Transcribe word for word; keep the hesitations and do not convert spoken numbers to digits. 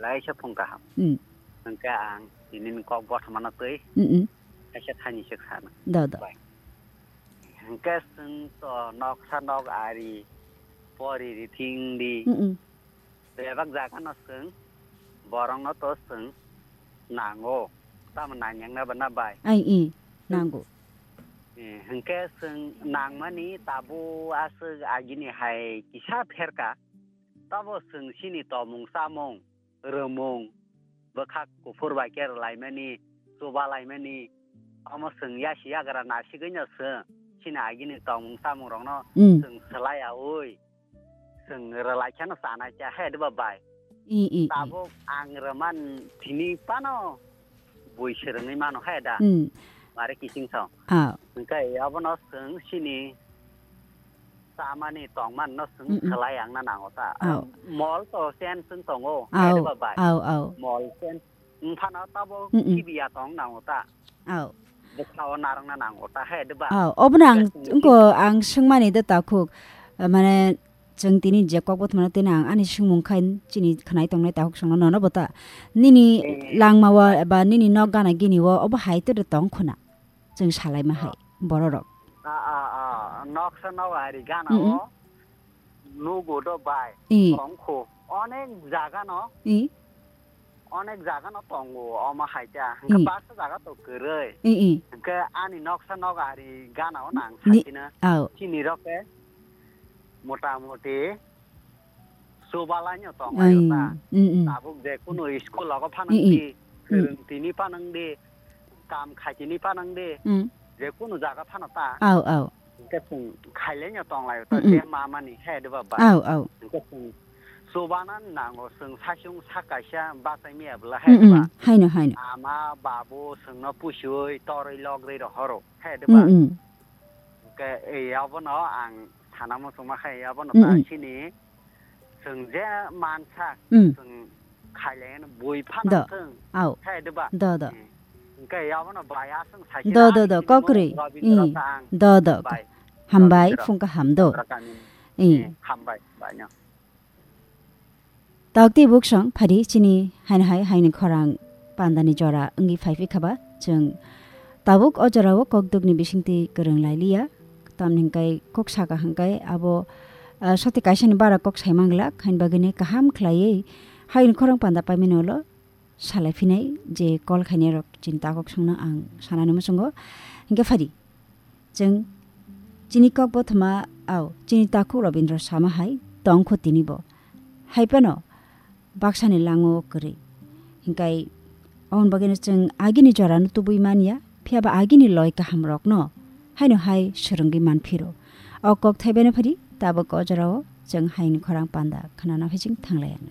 Laisa phung kaham. Mm. Hwnkhe ang tini ni kok bothomano twi Mm, mm. kaisa thani se sana. Da, da. Bai. Hwnkhe chwng to noksa nok ari pori rithing di. Mm, mm. Bebak jaga no chwng borok no to chwng nango. Tamo nang yang na ba na bai. Ai, i, nango. Eh, hwnkhe chwng nangmani tabuk aswk agini hai kisa pherka. Tabo chwng chini tomung chamung, rwmung, bwkhak kuphur bai khe rwlaimani, chubalaimani, omo chwng yasi yagra nasigwino chwng chini agini tongmung chamungrokno Mm. chwng swlaiyaui, chwng rwlaikheno chanai cha he diba bai. I, i, i. Tabuk ang rwman tini phano bui swrwngwi mano he da. Mm. Mare kising song. Ah. Hwnkhe abono chwng chini chamani tongman no chwng Mm, mm. Swlai ang na nango ta. Aw. Mol to chen chwng tongo, Aw, hai diba bai? Aw, aw. Mol chen. Wngphano tabo Mm, mm. Kibiya tong nango ta. Aw. Bwsao narwkna nango ta, hai diba? Aw, obono ang Bwsao wngko ang swngmani de takhuk. Mane chwng tini je kok bothomano tini ang ani swngmung khai chini khnai tongnai takhuk songno nono bo ta. Nini Eh. Langmao eba nini nok gana gini o obo hai to de tong khuna. Chwng salaima hai, bororok. A, a, a, noksa nok ari gana Mm, mm. O nugo do bai, I. Tongkho. Onek jaga no, I. Onek jaga no tongo, omo hai ta. Hwnkhe I. Baksa jaga to kwrwi. I, i. Hwnkhe ani noksa nok ari gana o nang Ni-, sakina. Aw. Chini rok khe motamuti Chubalaino tong Ai, laio ta. Mm, mm. Tabuk je kunu school logo phanang Mm, mm. Di, Mm. Kwrwng tini phanang di, kam khaitini phanang di, Mm. Je kunu jaga phano ta. Au, au. Hwnkhe chwng khailaino tong laio ta, Mm, mm. Je mamani he diba bai. Au, au. Hwnkhe chwng chubana nango, chwng saichung sak kaisa bachai maya bwla he Mm, mm. Diba. Haino, haino. Ama, babu, chwngno pusiui, torwi logri rohoro he diba. Mm, mm. Hwnkhe, ei, abono ang sana muchungma khe, abono Mm, ta mm. Chini, chwng je mansa, Mm. Chwng khailaiano bui phano Do. Thwng. Au. Khe diba? Do, do. Mm. Hwnkhe, abono bai aswng sai Do, do, do, Kokri. Rabindra Mm. Tang. Do, do. Bai. Hambai, Rabindra. Phung kaham do. Rabindra Tang. Mm. Eh, hambai, bai no. Tawk tei buksong phari chini haino hai haini khorang pandani jora wngwi phai phi khaba. Chwng tabuk o jorao kokdukni bisingtwi kwrwng lai liya. Tamni hwnkhe kok saka hwnkhe abo, ah, soti kaisani bara kok sai manglak, haini bagwino kaham khlaiwi haini khorang panda paimani ulo salai phinai je call khainai rok chini takhuk songno ang sanani muchungo. Hwnkhe phari. Chwng chini kok bothoma, au, chini takhuk Rabindra sama hai tongkho tinibo. Hai phano baksani lango kwrwi. Hingkai, aboni bagwino chwng agini jorano tubui manya, phiyaba agini loi kahamrokno haino hai swrwngwi manphiro. O kok thaibaino phari, tabuk o jorao chwng haini khorang panda khnana phai chwng thanglaianw.